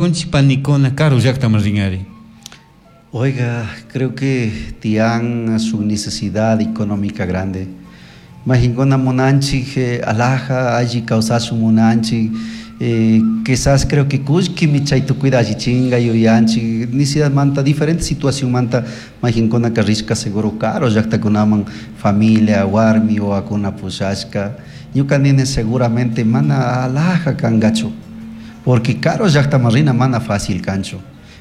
Kunchi panikuna karu llaktaman rinari. Oiga, creo que tiyan su necesidad económica grande. Majinkuna munanchik alhaja alli kawsashun munanchik, quizás creo que kullkimi chay tukuyta allichinga yuyanchik, necesidadmanta diferente situacionmanta mayqinkunaka rishka seguro karu llaktakunaman familia, warmi, wawakuna pushashka. Ñuka nini seguramente mana alhaja kankachu, porque karu llaktaman rina mana fácil kanchu.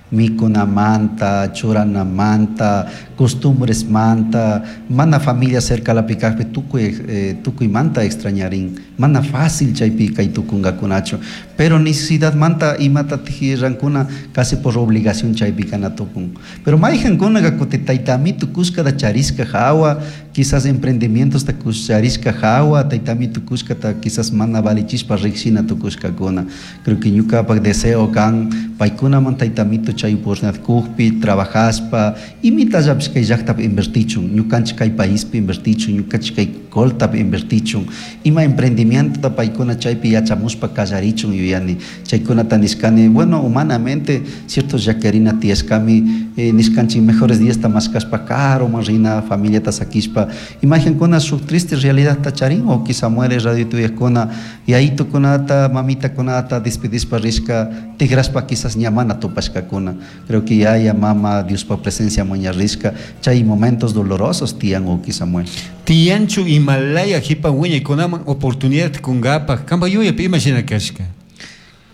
Mikunamanta, churanamanta, costumbresmanta, mana familia cercalapi kakpi tukuy tukuymanta extrañarin, mana fácil chaypi kay tukunkakunachu, pero necesidadmanta imatatik rankuna casi por obligación chaypi kana tukun. Pero mayqankunaka kutin tayta amito kushkata charishka hawa, quizás emprendimientosta charishka hawa, tayta amito kushkata quizás mana valichishpa rikshina tukushkakuna. Creo que ñukapak deseo kan paykunaman tayta amito chay oportunidad kukpi trabajashpa imitallapish kay llaktapi invertichun, ñukanchik kay paispi invertichun, ñukanchik kay Coltapi invertichun, ima emprendimientota paykuna chaypi yachamushpa kallarichun yuyani. Chaykunata nishkani, bueno, humanamente cierto llaquirina tiyashkami, nishkanchik mejores diasta mashkashpa karuman rina familiata sakishpa. Imagenkuna shuk triste realidadta charin wawki Samuel radio tuyakuna yayitukunata, mamitakunata despedishpa rishka tigrashpa quizás ña mana tupashkakuna. Creo que yaya, mama, Diospa presencia ña rishka chay momentos dolorosos tiyan wawki Samuel. Tiyanchu imalaya jipa wiñaykunaman oportunidad kunkapak kanpak yuyaypi ima shina kashka?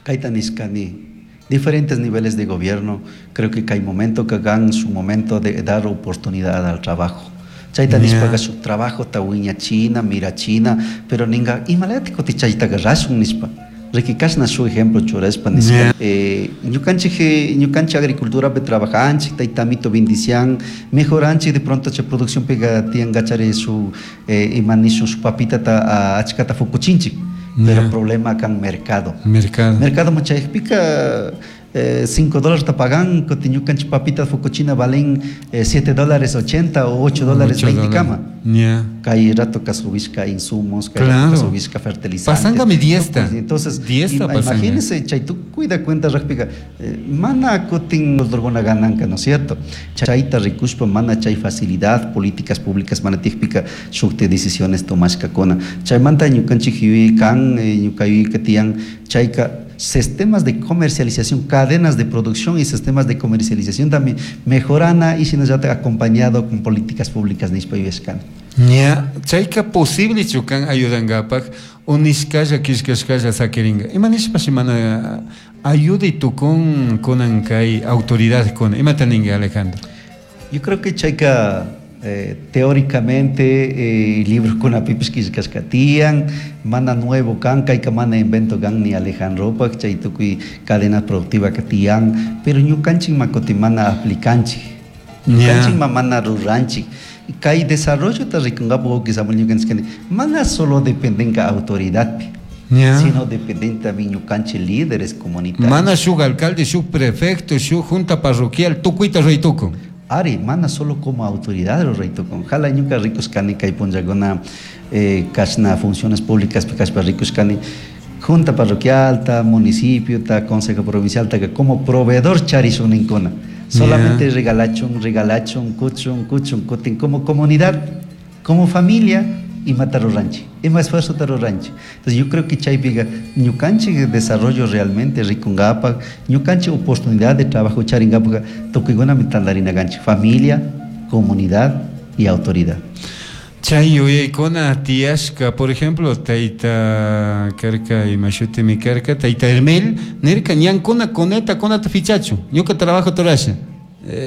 Kayta nishkani, diferentes niveles de gobierno, creo que kay momento kan su momento de dar oportunidad al trabajo. Chayta nishpaka shuk trabajota wiñachina, mirachina, pero ninga imalayatik kutin chaytaka rashun nishpa. Riki kashna shuk ejemplo churashpa nishka. Ñukanchik, ñukanchik agriculturapi trabajanchik, tayta amito bendician, mejoranchik de pronto chay produccionpika tiyankachari shuk ima nishun shuk papitata achkata fukuchinchik. Pero problema kan mercado. Mercado. Mercado chaypika $5 ta pagan, kutin ñukanchik papita fukuchina valen $7.80 o $8.20 kama. Kay rato ka subishka insumos, kay rato ka subishka fertilizantes. Pasangami diezta. Entonces, Diezta pasanga. imagínense, chay tukuyta cuenta rakpika, mana kutin drogona gananka, ¿no es cierto? Chayta rikushpa mana chay facilidad, políticas públicas mana tiyakpika shukti decisiones tomashkakuna. Chaymanta ñukanchik yuyay kan, ñuka yuyayka tiyan, chayka sistemas de comercialización, cadenas de producción y sistemas de comercialización también mejorana y shinallatak acompañado con políticas públicas nishpa yuyashkani. Ña, chayka posible kan ayudankapak o nishkalla killkashkalla sakirinka. Ima nishpashi mana ayuday tukun kunan kay autoridadkuna. Imata ninki, Alejandro? Yo creo que chayka teóricamente librokunapipish killkashka tiyan, mana nuevo kan, kayka mana invento kan ni Alejandropak, chay tukuy cadena productiva ka tiyan, pero ñukanchik ma kutin mana aplicanchik, ñukanchik ma mana ruranchik. Kay desarrollo ta rikunkapak wawki Samuel ñukanchik kani, mana solo dependenka autoridadpi, sino dependen también ñukanchik líderes comunitarios. Mana shuk alcalde, shuk prefecto, shuk junta parroquial, tukuyta ruray tukun. Ari, mana solo como autoridad ruray tukun. Jala ñuka rikushkani kay punllakuna, kashna funciones públicas kashpa rikushkani, junta parroquial ta, municipio ta, consejo provincial ta, como proveedor charishun ninkuna. Solamente regalachun, regalachun, kuchun, kuchun, kutin, como comunidad, como familia, imata ruranchik, ima esfuerzo ta ruranchik. Entonces yo creo que chaypiga ñukanchik desarrollo realmente rikungapak, ñukanchik oportunidad de trabajo charingapak, tukuykunami tantarina kanchik, familia, comunidad y autoridad. Chay yuyaykuna tiyashka, por ejemplo, tayta karka, ima shutimi karka, tayta Hermel, nirka ñankuna coneta kunata fichachu, ñuka trabajo turasha.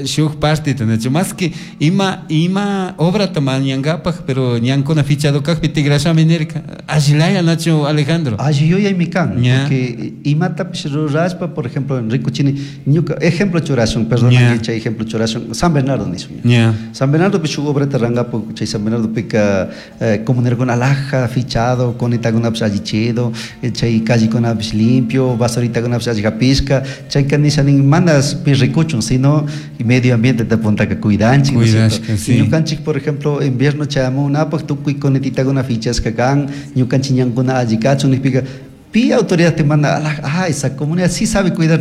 Shuk parte nachu, más que ima obrata mañangapak, pero ñankuna fichado kakpi tigrashami nirka. Allilaya nachu, Alejandro. Alli yuyaymi kan, porque imatapish rurashpa, por ejemplo, en Ricuchini, ñuka ejemplo churashun, perdona, chay ejemplo churashun, San Bernardo nishun. San Bernardo pi shuk obrata rangapo, chay San Bernardo pika, comunerkuna alhaja fichado, conetakunapish allichido, chay callekunapish limpio, basuritakunapish alli hapishka, chayka nisha nin, manas pi ricuchun, sino medio ambiente te puntaka cuidanchik, ¿no es cierto? Cuidashka, sí. Ñukanchik, por ejemplo, invierno chayamunapaj tukuy conetitakuna fichashka kan, ñukanchik ñankuna alli kachun nijpika, Pi autoridad te manda, ah, esa comunidad sí sabe cuidar.